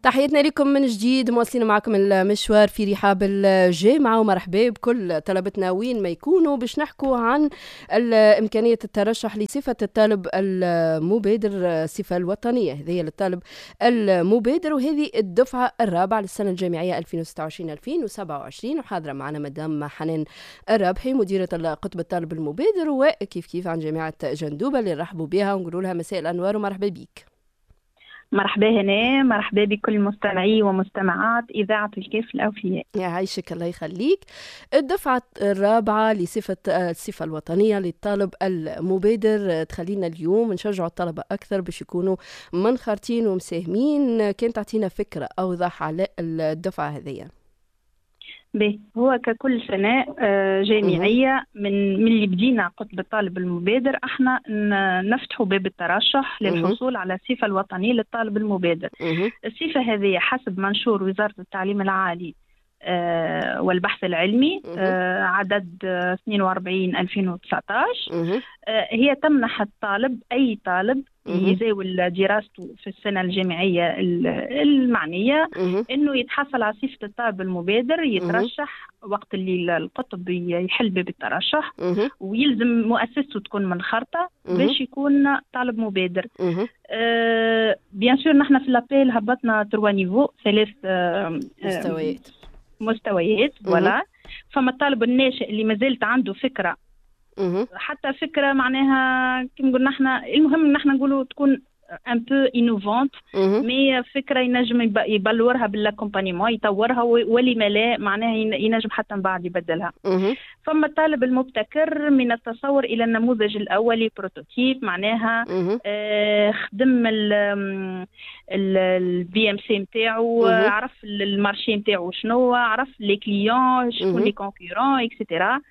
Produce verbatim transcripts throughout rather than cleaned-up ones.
تحياتنا لكم من جديد، مواصلين معكم المشوار في رحاب الجامعة، ومرحبا بكل طلبتنا وين ما يكونوا باش نحكوا عن إمكانية الترشح لصفة الطالب المبادر، الصفة الوطنية هذه للطالب المبادر، وهذه الدفعة الرابعة للسنة الجامعية ألفين وستة وعشرين ألفين وسبعة وعشرين. وحاضرة معنا مدام حنان الرابحي، مديرة قطب الطالب المبادر، وكيف كيف عن جامعة جندوبة، اللي نرحبوا بها ونقولوا لها مساء الأنوار ومرحبا بك. مرحبا هنا، مرحبا بكل مستمعي ومستمعات إذاعة الكاف الأوفياء. يعيشك، الله يخليك. الدفعة الرابعة لصفة الصفة الوطنية للطالب المبادر، تخلينا اليوم نشجع الطلبة أكثر باش يكونوا منخرطين ومساهمين. كان تعطينا فكرة أوضح على الدفعة هذه. به، هو ككل سنة آه، جامعية من من اللي بدينا قطب الطالب المبادر، احنا نفتحوا باب الترشح للحصول على الصفة الوطنية للطالب المبادر. الصفة هذه حسب منشور وزارة التعليم العالي آه، والبحث العلمي آه، عدد اثنين وأربعين ألفين وتسعة عشر هي تمنح الطالب، أي طالب يزاول دراسته في السنة الجامعية المعنية، أنه يتحصل على صفة الطالب المبادر، يترشح وقت اللي القطب يحل باب الترشح، ويلزم مؤسسته تكون منخرطة باش يكون طالب مبادر. أه bien sûr نحن في l'appel هبطنا trois niveaux، ثلاث آه مستويات. مستويات، voilà. فما الطالب الناشئ اللي مازالت عنده فكره، حتى فكرة معناها كيما نقول نحن، المهم نحن نقولوا تكون un peu innovante، mais فكرة ينجم يبلورها بال accompagnement، يطورها، ولما لا معناها ينجم حتى من بعد يبدلها. فما الطالب المبتكر، من التصور الى النموذج الاولي prototype، معناها آه خدم ال BMC نتاعو، عرف ال marché نتاعو شنو، عرف les clients شكون، les concurrents et cetera،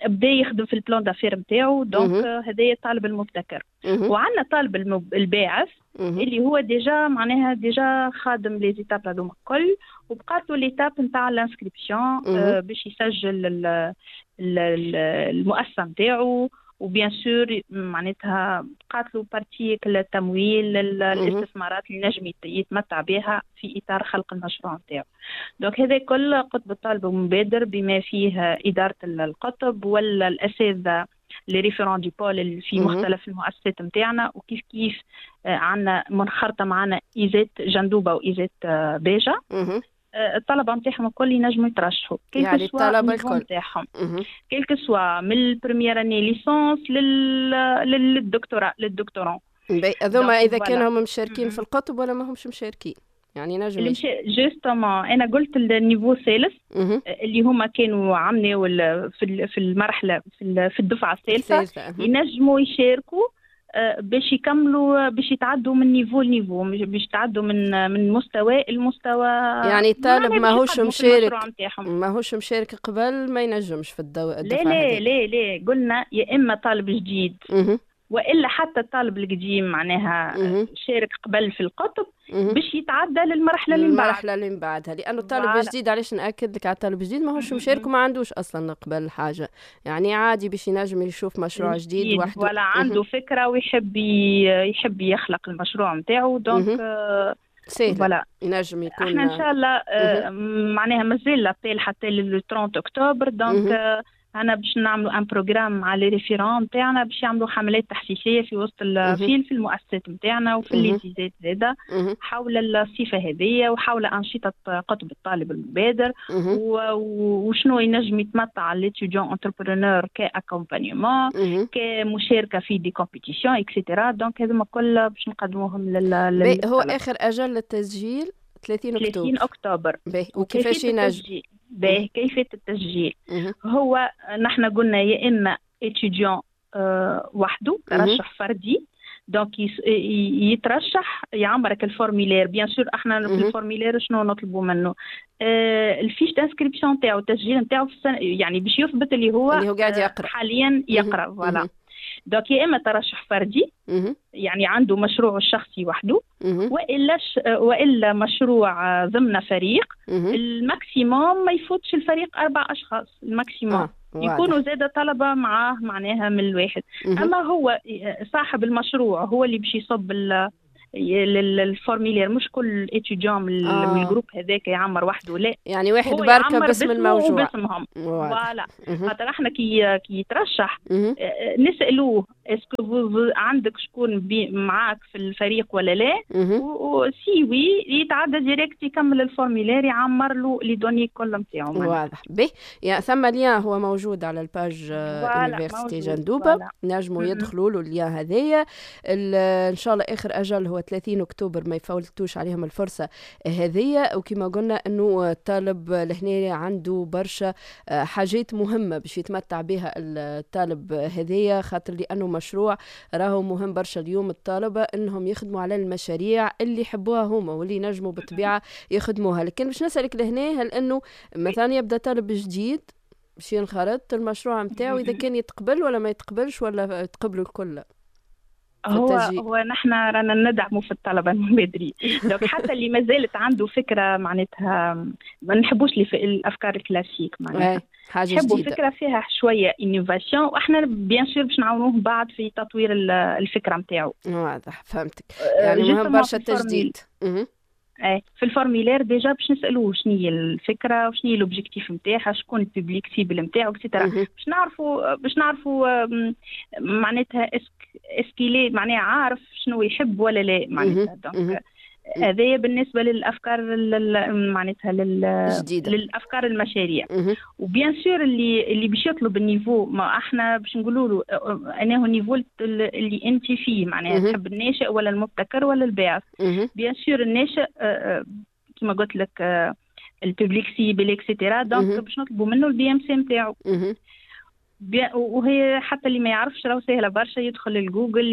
بدا يخدم في ال plan d'affaires نتاعو. donc هذايا الطالب المبتكر. وعندنا الطالب الباعث اللي هو déjà معناها déjà خادم les étapes هذوما الكل، وبقات له l'étape نتاع l'inscription باش يسجل المؤسسة نتاعو، و bien sûr معناتها بقات له partie التمويل، الاستثمارات اللي نجم يتمتع بها في اطار خلق المشروع نتاعو. donc هذا كل قطب الطالب المبادر بما فيه ادارة القطب ولا الاساتذة les référents du pôle في مختلف المؤسسات نتاعنا، وكيف كيف آه، عندنا منخرطه معنا ISET جندوبه و ISET آه، باجه. آه، الطلبة نتاعهم الكل ينجموا يترشحوا. يعني الطلبة الكل نتاعهم، quel que soit من ال première année licence للدكتوراه، لل doctorant. هذوما اذا كانوا هم مشاركين في القطب ولا ما همش مشاركين، يعني نجم justement انا قلت ال niveau الثالث اللي هما كانوا عملوا في في المرحلة في في الدفعة الثالثه، ينجموا يشاركوا آه، باش يكملوا، باش يتعدوا من niveau ل niveau، باش يتعدوا من من مستوى المستوى. يعني الطالب ماهوش مشارك، ماهوش مشارك قبل، ما ينجمش في الدو... الدفعه؟ لا لا لا لا، قلنا يا اما طالب جديد والا حتى الطالب القديم معناها شارك قبل في القطب باش يتعدى للمرحلة اللي من بعدها. المرحلة اللي من بعدها، لانه الطالب الجديد، علاش ناكد لك على الطالب الجديد، ماهوش مشارك وما عندوش اصلا قبل حاجه، يعني عادي باش ينجم يشوف مشروع جديد وحده. ولا عنده فكرة ويحب يحب يخلق المشروع نتاعو، donc سهل، voilà، ينجم يكون. احنا ان شاء الله آه، معناها مازال l'appel حتى لل ثلاثين اكتوبر، donc انا باش نعملوا un programme مع les référents نتاعنا باش يعملوا حملات تحسيسيه في وسط في في المؤسسات نتاعنا وفي les ISET زاده حول الصفة هذه وحول انشطة قطب الطالب المبادر وشنو ينجم يتمتع l'étudiant entrepreneur ك accompagnement، كمشاركه في des compétitions et cetera. donc هذوما كل باش نقدموهم لل هو اخر اجل للتسجيل ثلاثين اكتوبر. ثلاثين اكتوبر. وكيفاش ينجم؟ باهي، كيفية التسجيل هو نحن قلنا يا إما étudiant آه، وحده، ترشح فردي، donc يترشح، يعمرك ال formulaire. bien sûr احنا في ال formulaire شنو نطلبوا منه؟ آه ال fiche d'inscription تاعو، التسجيل نتاعو في السنه، يعني باش يثبت اللي هو اللي هو قاعد يقرا. حاليا يقرا، voilà. donc يا اما ترشح فردي، يعني عنده مشروعه الشخصي وحده، والا والا مشروع ضمن فريق، ال maximum ما يفوتش الفريق اربع اشخاص ال maximum. آه. يكونوا زاد طلبه معاه معناها من الواحد. اما هو صاحب المشروع هو اللي باش يصب ال formulaire، مش كل étudiant من, آه. من ال groupe هذاك يعمر وحده، لا. يعني واحد بركة باسم الموجوع. باسمهم، voilà. خاطر احنا كي كي يترشح آه، نسالوه est-ce que عندك شكون معاك في الفريق ولا لا، و si oui يتعدى direct يكمل ال formulaire، يعمر له les données كل نتاعو. واضح. به، يعني ثم lien هو موجود على ال page université جندوبه، نجموا يدخلوا له ال lien هذايا. ان شاء الله اخر اجل هو ثلاثين اكتوبر، ما يفوتوش عليهم الفرصة هذيا. وكما قلنا انه الطالب لهنا عنده برشا آه، حاجات مهمة باش يتمتع بها الطالب هذيا، خاطر لانه مشروع راهو مهم برشا. اليوم الطلبة انهم يخدموا على المشاريع اللي يحبوها هما واللي ينجموا بالطبيعة يخدموها. لكن باش نسالك لهنا، هل انه مثلا يبدا طالب جديد باش ينخرط، المشروع نتاعو اذا كان يتقبل ولا ما يتقبلش ولا تقبلوا الكل؟ هو هو نحن رانا ندعموا في الطلبة المبادرين، donc حتى اللي ما زالت عنده فكره، معناتها ما نحبوش الافكار الكلاسيك، معناتها حاجة نحبوا فكرة فيها شوية innovation، واحنا bien sûr باش نعاونوه بعد في تطوير الفكرة نتاعو. واضح، فهمتك. يعني مهم برشا التجديد. ايه، في ال formulaire déjà باش نسالوه شنو هي الفكرة وشنو هي l'objectif نتاعها، شكون ال public cible نتاعو et cetera، باش نعرفوا باش نعرفوا معناتها est-ce que est-ce qu'il est معناها عارف شنو يحب ولا لا. معناتها donc هذايا بالنسبة للافكار معناتها لل... جديدة. للافكار المشاريع. و bien sûr اللي اللي باش يطلب ال niveau، ما احنا باش نقولوا له انا هو ال niveau اللي انت فيه، معناها تحب الناشئ ولا المبتكر ولا الباعث. bien sûr الناشئ آه، آه، كما قلت لك ال public cible et cetera، donc باش نطلبوا منه ال BMC نتاعو. وهي حتى اللي ما يعرفش راهو سهلة برشا، يدخل لجوجل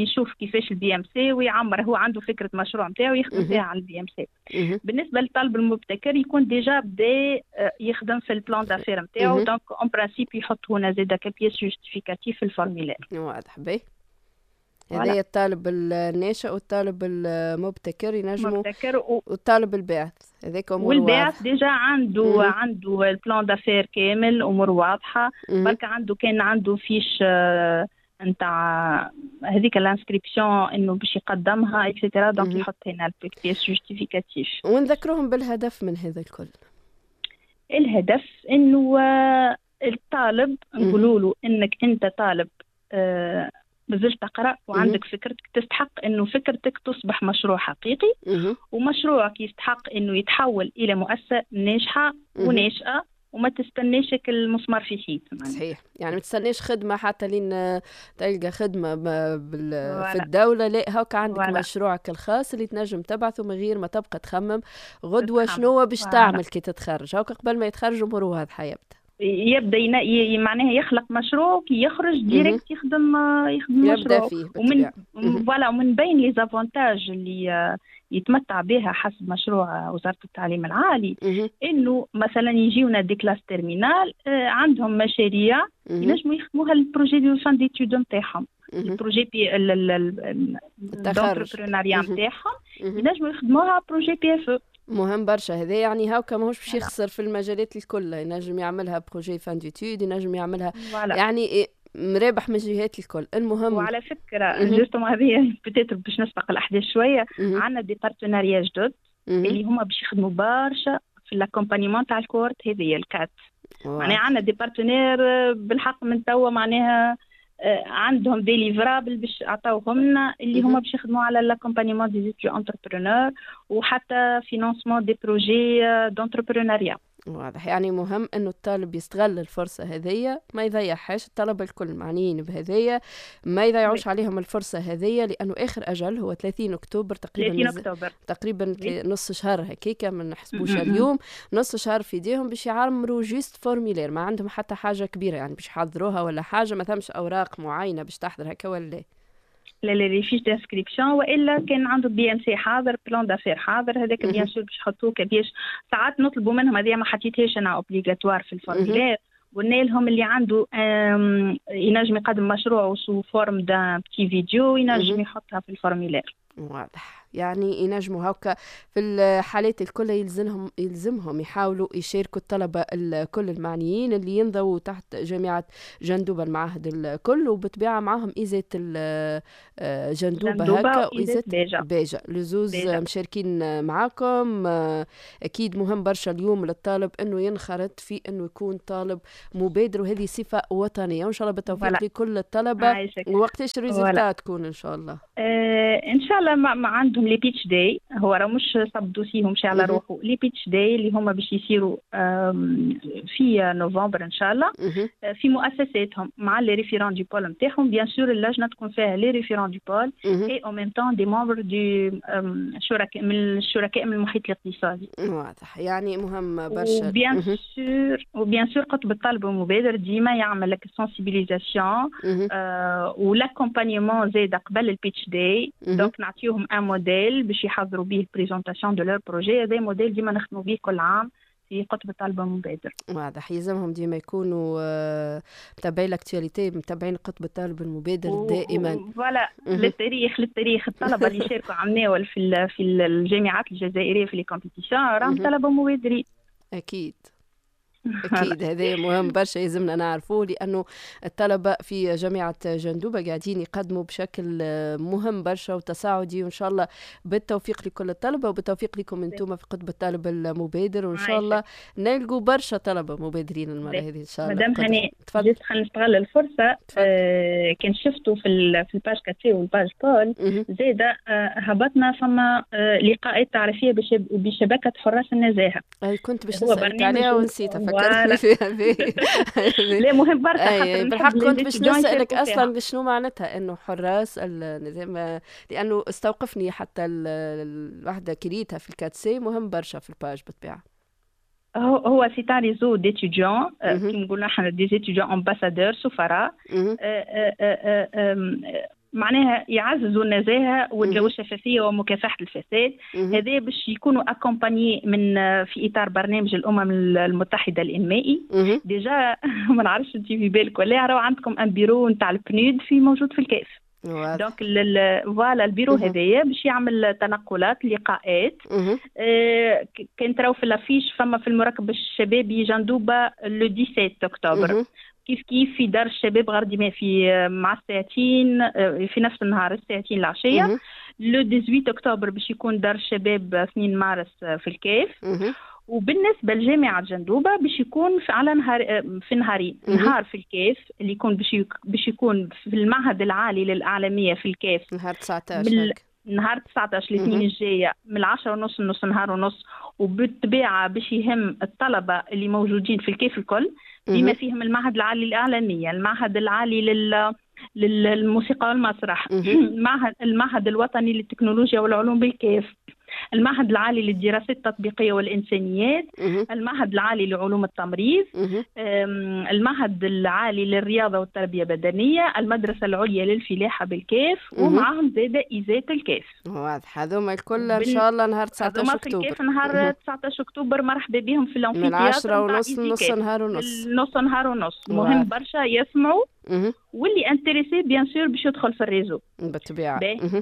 يشوف كيفاش ال BMC ويعمر. هو عنده فكرة مشروع نتاعو يخدم فيها على ال BMC. بالنسبة للطالب المبتكر يكون déjà بدا آه، يخدم في ال plan d'affaires نتاعو، donc en principe يحط هنا زاده ك pièce justificative في ال formulaire. واضح. باهي، هذا الطالب الناشئ والطالب المبتكر ينجموا مبتكر و... والطالب الباعث هذاك امور. والباعث déjà عنده مم. عنده ال plan d'affaires كامل، امور واضحه. برك عنده كان عنده fiche نتاع هذيك l'inscription انه باش يقدمها et cetera، donc يحط هنا ال pièce justificative. ونذكرهم بالهدف من هذا الكل. الهدف انه الطالب نقولوا له انك انت طالب آه مازلت تقرا وعندك فكرتك، تستحق انه فكرتك تصبح مشروع حقيقي، ومشروعك يستحق انه يتحول الى مؤسسة ناجحة وناشئه، وما تستناش المسمار في حيط. صحيح، يعني ما تستناش خدمة حتى لين تلقى خدمة بال... في الدوله، لا، هاك عندك voilà. مشروعك الخاص اللي تنجم تبعثه من غير ما تبقى تخمم غدوه شنو باش تعمل كي تتخرج. هاك قبل ما يتخرج اموره واضحة يبدا. يبدا ينا... معناها يخلق مشروع، كي يخرج direct يخدم يخدم مشروع. فيه. ومن voilà، ومن بين les avantages اللي يتمتع بها حسب مشروع وزارة التعليم العالي انه مثلا يجيونا des classes terminales آه، عندهم مشاريع ينجموا يخدموها ال projet de fin d'études نتاعهم، ال projet بي d'entrepreneuriat نتاعهم ينجموا يخدموها projet PFE. مهم برشا هذا، يعني هاكا ماهوش باش يخسر في المجالات الكل، ينجم يعملها projet fin d'études، ينجم يعملها يعني مرابح من الجهات الكل. المهم وعلى فكرة justement هذه peut-être باش نسبق الاحداث شويه، عندنا des partenariats جدد اللي هما باش يخدموا برشا في l'accompagnement تاع ال cohorte هذه ال quatre. معناها عندنا des partenaires بالحق من توا، معناها آه، عندهم des livrables باش عطاوهم لنا اللي هما باش يخدموا على l'accompagnement des étudiants entrepreneurs وحتى financement des projets d'entrepreneuriat. واضح، يعني مهم انه الطالب يستغل الفرصة هذية ما يضيعهاش. الطلبة الكل معنيين بهذية، ما يضيعوش عليهم الفرصة هذية، لانه اخر اجل هو ثلاثين اكتوبر تقريبا. ثلاثين اكتوبر. تقريبا نص شهر هكيكا، ما نحسبوش اليوم، نص شهر في ايديهم باش يعمروا juste formulaire. ما عندهم حتى حاجة كبيرة يعني باش يحضروها ولا حاجة، ما ثمش اوراق معينة باش تحضر هكا ولا؟ لا لا، les fiches d'inscription والا كان عنده BMC حاضر، plan d'affaires حاضر، هذاك bien sûr باش يحطوه ك pièce. ساعات نطلبوا منهم، هذه ما حطيتهاش انا obligatoire في ال formulaire، قلنا لهم اللي عنده ينجم يقدم مشروع sous forme d'un petit vidéo، ينجم يحطها في ال formulaire. واضح. يعني ينجموا هكا في الحالات الكل يلزمهم يلزمهم يحاولوا يشاركوا الطلبة الكل المعنيين اللي ينضووا تحت جامعة جندوبة المعاهد الكل، وبطبيعة معاهم ISET جندوبة هكا و ISET باجة, باجة. لزوز مشاركين معاكم. أكيد مهم برشا اليوم للطالب أنه ينخرط في أنه يكون طالب مبادر، وهذه صفة وطنية، وإن شاء الله بالتوفيق لكل الطلبة. وقتاش ال résultat تكون إن شاء الله؟ آه إن شاء الله ما, ما عندهم les pitch day، هو راه مش صب dossier هم على روحه، les pitch day اللي هما باش يصيروا في نوفمبر ان شاء الله في مؤسساتهم مع les référents du pôle نتاعهم. bien sûr اللجنة تكون فيها les référents du pôle et en même temps des membres du شركاء من الشركاء من المحيط الاقتصادي. واضح، يعني مهم برشا. و bien sûr و bien sûr قطب الطالب المبادر ديما يعمل لك sensibilisation و l'accompagnement زاد قبل ال pitch day، donc نعطيوهم un modèle باش يحضروا به présentation de leur projet. هذا موديل ديما نخدموا به كل عام في قطب الطالب المبادر. واضح، يلزمهم ديما يكونوا آه، متابعين l'actualité، متابعين قطب الطالب المبادر و... دائما. voilà، للتاريخ للتاريخ الطلبة اللي شاركوا عمناول في في الجامعات الجزائرية في les compétitions راهم طلبه مبادرين. اكيد أكيد، هذا مهم برشا يلزمنا نعرفوه، لأنه الطلبة في جامعة جندوبة قاعدين يقدموا بشكل مهم برشا وتصاعدي، وإن شاء الله بالتوفيق لكل الطلبة وبالتوفيق لكم أنتم في قطب الطالب المبادر، وإن شاء الله نلقوا برشا طلبة مبادرين المرة هذه إن شاء الله. مدام هاني، juste خلينا نستغل الفرصة. آه كان شفتوا في في ال page quatre C وال page pôle زاده آه هبطنا فما آه لقاءات تعريفية بشبكة حراس النزاهة. أي كنت باش نسألك عليها ونسيتها، فكرتني فيها. لا مهم برشا. بالحق كنت باش نسألك أصلا شنو معناتها إنه حراس النظام، لأنه استوقفني حتى الوحدة كريتها في ال quatre C، مهم برشا في ال page بالطبيعة. هو هو c'est un réseau d'étudiants، كيما نقولوا احنا des étudiants ambassadeurs، سفراء، معناها يعززوا النزاهة والشفافيه ومكافحه الفساد. هذا باش يكونوا accompagnés من في اطار برنامج الامم المتحدة الانمائي. déjà ما نعرفش انت في بالك ولا راهو عندكم un bureau نتاع ال PNUD في موجود في الكاف. donc voilà ال bureau هذايا باش يعمل تنقلات، لقاءات. آه كان تراو في l'affiche فما في المركب الشبابي جندوبه le dix-sept اكتوبر، كيف كيف في دار الشباب غرديماء في مع الساعتين في نفس النهار الساعتين العشيه. le dix-huit اكتوبر باش يكون دار الشباب اثنين مارس في الكاف. وبالنسبة لجامعة جندوبه باش يكون في على نهار في نهارين، نهار في الكاف اللي يكون باش باش يكون في المعهد العالي للاعلاميه في الكاف نهار تسعطاش. نهار تسعطاش الاثنين الجاية من العشرة ونص لنص نهار ونص، وبالطبيعه باش يهم الطلبة اللي موجودين في الكاف الكل، بما فيهم المعهد العالي للاعلاميه، المعهد العالي لل للموسيقى والمسرح، المعهد المعهد الوطني للتكنولوجيا والعلوم بالكاف، المعهد العالي للدراسات التطبيقية والإنسانيات، المعهد العالي لعلوم التمريض، المعهد العالي للرياضة والتربية البدنية، المدرسة العليا للفلاحة بالكاف، ومعهم زادة ISET الكاف. واضح، هذوما الكل إن شاء الله نهار تسعطاش أكتوبر. في الكاف نهار تسعطاش أكتوبر، مرحبا بهم في l'amphithéâtre من عشرة ونص نص نهار ونص. نص نهار ونص، مهم برشا يسمعوا، واللي intéressé bien sûr باش يدخل في ال réseau. بالطبيعة.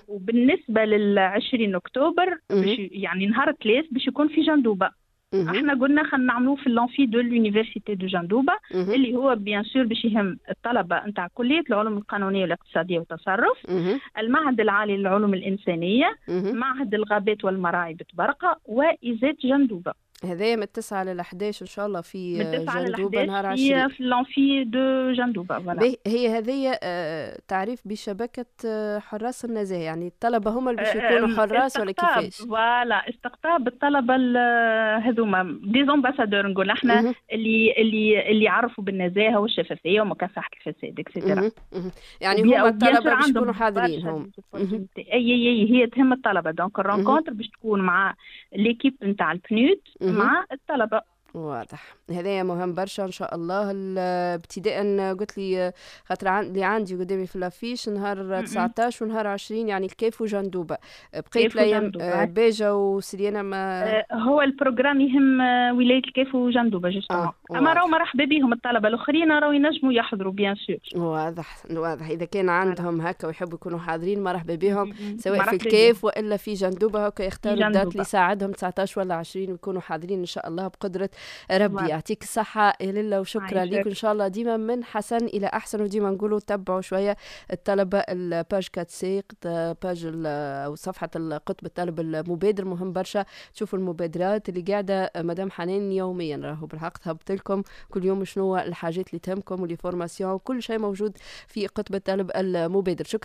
وبالنسبة لل عشرين أكتوبر باش يعني نهار الثلاث باش يكون في جندوبة. احنا قلنا خلينا نعملوه في l'amphi de l'université de جندوبة، اللي هو bien sûr باش يهم الطلبة نتاع كلية العلوم القانونية والاقتصادية والتصرف، المعهد العالي للعلوم الإنسانية، معهد الغابات والمراعي بتبرقة، و ISET جندوبة. هذايا من التسعة لل إحداش إن شاء الله في جندوبة نهار عشرين في l'amphi de جندوبة. voilà هي هذه تعريف بشبكة حراس النزاهة، يعني الطلبة هما اللي باش يكونوا حراس ولا كيفاش؟ voilà، استقطاب الطلبة هذوما des ambassadeurs نقول احنا، اللي اللي اللي يعرفوا بالنزاهة والشفافية ومكافحة الفساد et cetera. يعني هما الطلبة باش يكونوا حاضرين هم. اي اي هي تهم الطلبة، donc ال rencontre باش تكون مع l'équipe نتاع ال PNUD مع الطلبة. واضح، هذايا مهم برشا. ان شاء الله ابتداء قلت لي خاطر اللي عندي قدامي في l'affiche نهار تسعطاش ونهار عشرين، يعني الكاف وجندوبه، بقيت الايام آه، باجة وسليانه ما آه، هو ال programme يهم آه، ولاية الكاف وجندوبه justement. آه. اما راهو مرحبا بهم الطلبة الاخرين، راهو ينجموا يحضروا bien sûr. واضح واضح، اذا كان عندهم هكا ويحبوا يكونوا حاضرين مرحبا بهم، سواء في الكاف والا في جندوبه، هكا يختاروا ال date اللي يساعدهم تسعطاش ولا عشرين ويكونوا حاضرين ان شاء الله بقدره ربي. يعطيك الصحة يا للا وشكرا لك، إن شاء الله ديما من حسن إلى أحسن، وديما نقولوا تبعوا شوية الطلبة ال page quatre C، page أو صفحة القطب الطالب المبادر، مهم برشا تشوفوا المبادرات اللي قاعدة مدام حنان يوميا، راهو بالحق تهبط لكم كل يوم شنو الحاجات اللي تهمكم و les formations، كل شيء موجود في قطب الطالب المبادر. شكرا.